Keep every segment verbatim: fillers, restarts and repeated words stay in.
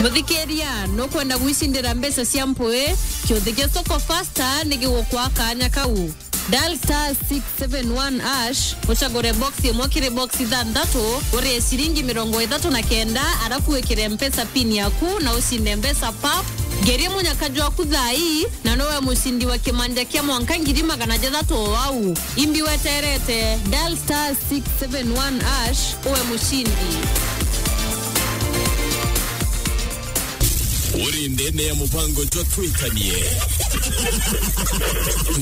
Muthikiria, nukwenda gwicindira mbeca cia mpui? Kiuthi gia Soko Fasta ni gigukwa kaanya kau. Dial star six seven one hash, ucagure box imwe kiri box ithanthatu, urie ciringi mirongo ithatu na kenda, arafu wikire Mpesa pin yaku na ucinde mbeca pap. Ngeria munyaka jwaku thaa ii, na nowe mucindi wa kimanja kia mwanka ngiri magana jathatu o au. Imbi weterete, dial star six seven one hash, uwe mucindi. Uri ndene ya mubango jwa Twikanie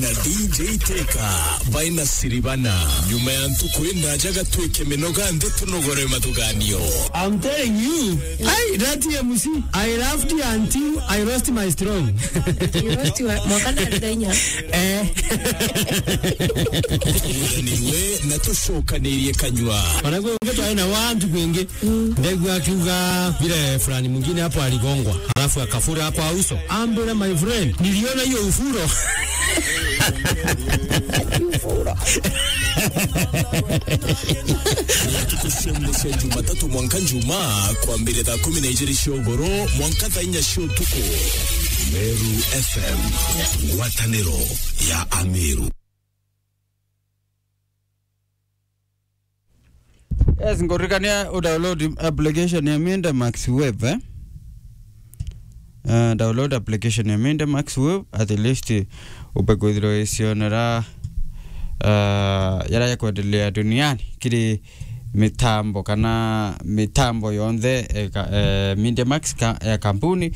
na D J Teka by Nasiribana. Nyuma ya ntuku indaja gatwike minoga nthi tunogore mathuganio. I'm telling you, hey, that M C, I laughed until I lost my strong. You lost your, mwaka ndarigainya. Eh. Turanirwe na tucokanirie kanyua. Ona kwi ungi twari na wantu kwingi. Ndegua akiuga vile fulani mwingine hapo aligongwa, alafu akafura kwa uso. Ambira, my friend, niliona hiyo ufuro. Ufuro. Tukushembe cia Jumatatu mwanka Njumaa, kwambire thaa kumi na ijiri cia ugoro mwanka thaa inya cia utuku. Meru F M, ngwataniro ya Ameru. Yes, nguririkania u download application ya Minda Max Web, eh? Uh, download application ya Minda Max Web, at least umbe kwithirwa icionera, uh, yara ya kwendelea duniani kiri mitambo kana mitambo yonthe, eh, ka-, eh, Media Max ka-, ya kampuni,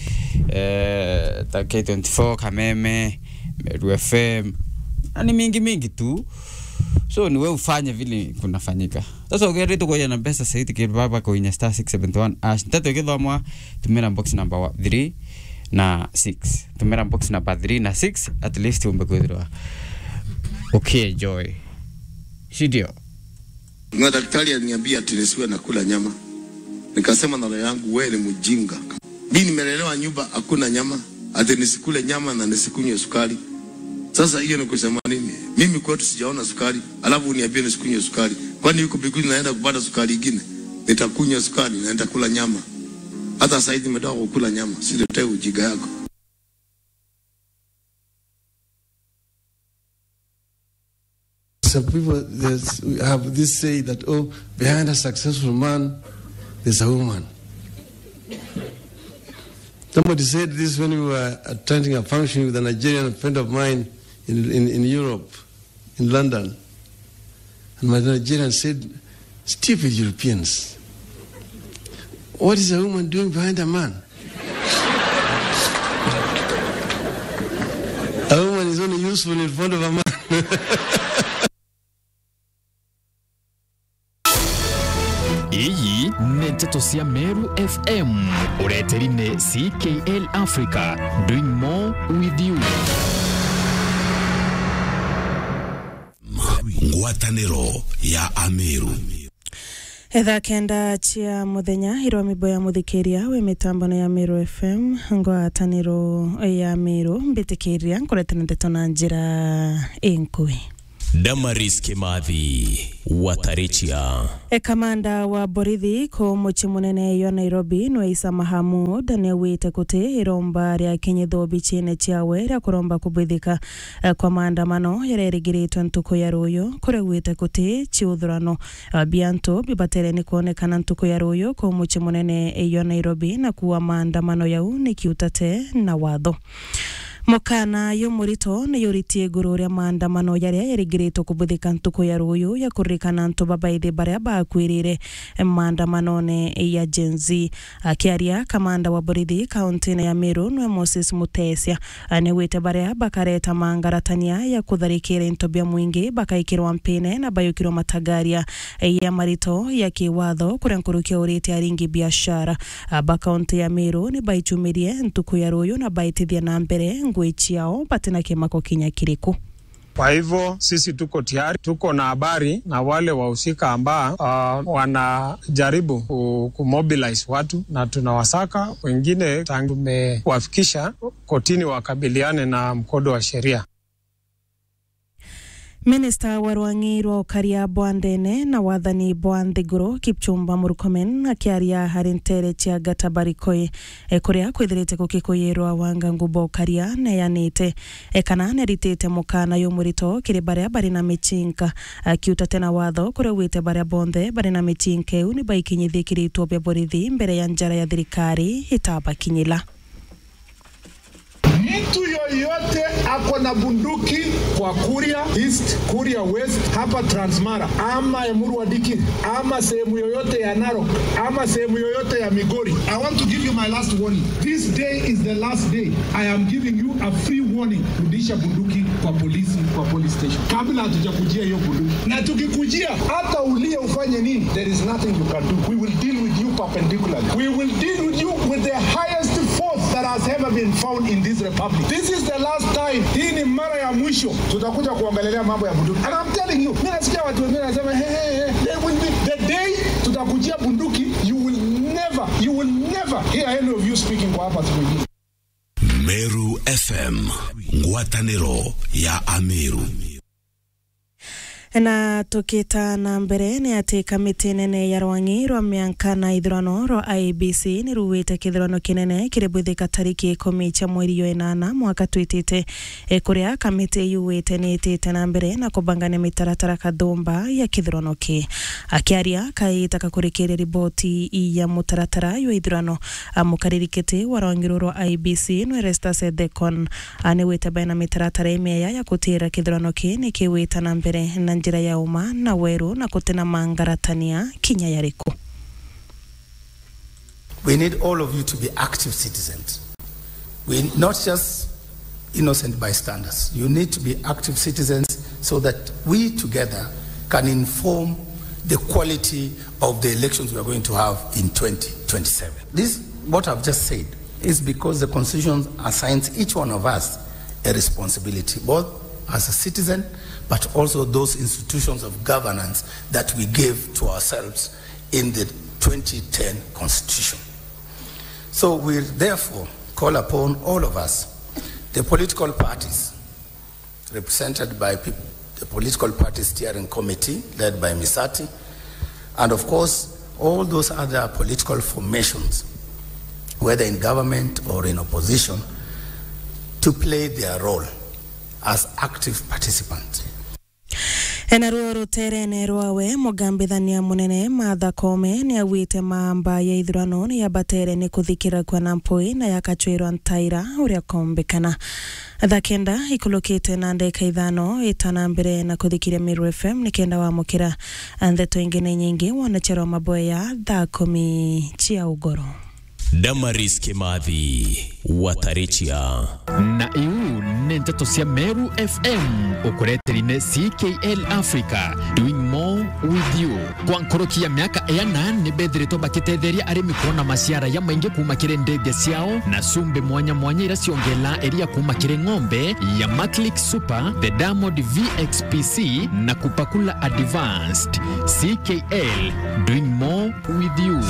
eh, ta K twenty-four, Kameme, Meru F M, na ni mingi mingi tu. So, ni we ufanye vile kunafanyika. Sasa, ukienda tu kuja na pesa saidi, ke baba kuinya star six seven one hash. Nteto ikithomwa, tumira box number wa-, three na six. Tumira box number three na six, at least umbe kwithirwa ukienjoy. Si ndio? Na daktari aliniambia ati nisiwe nakula nyama. Nikasema na roho yangu, "Wewe ni mjinga." Mimi nimelelewa nyumba hakuna nyama, ati nisikule nyama na nisikunywe sukari. Sasa hiyo ni kusema nini? Mimi kwetu sijaona sukari, alafu uniambie nisikunywe sukari. Kwani huko mbinguni naenda kupata sukari ingine? Nitakunywa sukari na nitakula nyama. Hata saizi nimetoka kukula nyama, siletee ujinga yako. Some people, there's, we have this say that, "Oh, behind a successful man, there's a woman." Somebody said this when we were attending a function with a Nigerian friend of mine in, in, in Europe, in London. And my Nigerian said, "Stupid Europeans. What is a woman doing behind a man? A woman is only useful in front of a man." Iyi ni nteto cia Meru F M, ureteri ni C K L Africa, doing more with you. Ngwataniro ya Ameru. Thaa kenda cia muthenya, irwa mibo ya muthikiria wi mitambone ya Meru F M, ngwataniro ya Meru, mbitikiria nkuretera nteto na njira inkui. Damaris Kimathi, Watarichia. E, kamanda wa borithi ku mucii munene yo Nairobi, nwe Isa Mahamud, niaugite kuti iromba ria kinyitho bichine ciawe ria kuromba kubwithika, e, kwa maandamano jaria jarigiritwe ntuku ya ruuju, kuria augite kuti ciuthurano, e, bia antu bibatere ni kwonekana ntuku ya ruuju ku mucii munene yo Nairobi, na kuuga maandamano jau ni kiutate na watho. Mukana jumurito ni juritie iguru ria maandamano jaria jarigiritwe kubwithika ntuku ya ruuju ya kuririkana antu babaithi baria bakwirire maandamanone ya Gen Z. Akiaria, kamanda wa borithi kauntine ya Meru nwe Moses Mutesia, niaugite baria bakareta mangaratania ya kutharikira into bia mwingi bakaikirwa mpine na bayukirwa matagaria ya marito ya kiwatho, kuria nkuruki aurite aringi biashara ba kaunti ya Meru ni baichumirie ntuku ya ruuju na baitithia na mbere ngui ciao batina kimako kinya kiriku. Kwa hivyo sisi tuko tayari, tuko na habari na wale wahusika ambao, ah, wanajaribu ku-, kumobilize watu na tunawasaka, wengine tangu tumewafikisha kotini wakabiliane na mkondo wa sheria. Minista wa rwang'i rwa ukaria bwa ndene na wathani bwa nthiguru, Kipchumba Murkomen, akiaria hari ntere cia Gatabarikoi, e, kuria kwithirite gukikuyirwa wanga ngubo ukaria neyanite, e, kana neritite mukana yumurito kiri baria bari na michinka, akiuta tena watho kuria ugwite baria bonthe bari na michinka iu ni baikinyithie kiritwo bia borithi mbere ya njara ya thirikari itabakinyila. Mtu yoyote ako na bunduki kwa Kuria East, Kuria West, hapa Transmara, ama Emuru Dikirr, ama sehemu yoyote ya Narok, ama sehemu yoyote ya Migori, I want to give you my last warning. This day is the last day. I am giving you a free warning. Rudisha bunduki kwa polisi, kwa police station, kabla hatujakujia hiyo bunduki. Na tukikujia, hata ulie ufanye nini, there is nothing you can do. We will deal with you perpendicularly. We will deal with you with the highest force that has ever been found in this republic. This is the last time. Hii ni mara ya mwisho tutakuja kuongelelea mambo ya bunduki. And I'm telling you, mimi nasikia watu wengine wanasema, "Hey, hey, hey, there will be the day tutakujia bunduki, you will never, you will never hear any of you speaking kwa hapa siku ingine." Meru F M, ngwataniro ya Ameru. Na tukita na mbere, ni ati kamiti nene ya rwang'i rwa mianka na ithurano rwa I E B C ni ruwite kithurano kinene kiri bwithika tariki ikumi cia mweri jwa inana mwaka twitite, e, kuria kamiti yuwite ni itite na mbere na kubangania mitaratara kathumba ya kithurano ki. Akiaria kaita kakurikiria riboti ya mutaratara jwa ithurano, a, mukariri kiti wa rwang'i ruru rwa I E B C nwe Erastus Ethekon, a, ni wite baina mitaratara imieya ya gutira kithurano ki ni kiwita na mbere na njira ya uma na weru na kutina mangaratania kinya yariku. We need all of you to be active citizens. We not just innocent bystanders. You need to be active citizens so that we together can inform the quality of the elections we are going to have in twenty twenty-seven. This, what I've just said, is because the Constitution assigns each one of us a responsibility, both as a citizen, but also those institutions of governance that we gave to ourselves in the twenty ten Constitution. So we therefore call upon all of us, the political parties represented by peop-, the Political Party Steering Committee led by Misati, and of course, all those other political formations, whether in government or in opposition, to play their role as active participants. Enaruo ruterene rwawe, mugambithania munene Martha Koome ni augite mamba ya ithurano ni yabatere ni kuthikira kwa na mpui na yakachwirwa ntaira uria kombekana. Thaa kenda ikulukite na ndeka ithano, ita na mbere na kuthikiria Meru F M ni kenda wamukira ndeto ingi na inyingi wone cherwa maboya thaa kumi cia ugoro. Damaris Kimathi, Watarichia. Na iu ni nteto cia Meru F M, ukureteri ni C K L Africa, doing more with you. Kwa nkoroki ya miaka iana, ni bethiritwe bakitetheria arimi kwona maciara ya maingi kuuma kiri ndithia ciao, na cumbi mwanya mwanya iria ciongela iria kuuma kiri ng'ombe ya Maclick Super, the Diamond V X P C, na Kupakula Advanced. C K L, doing more with you.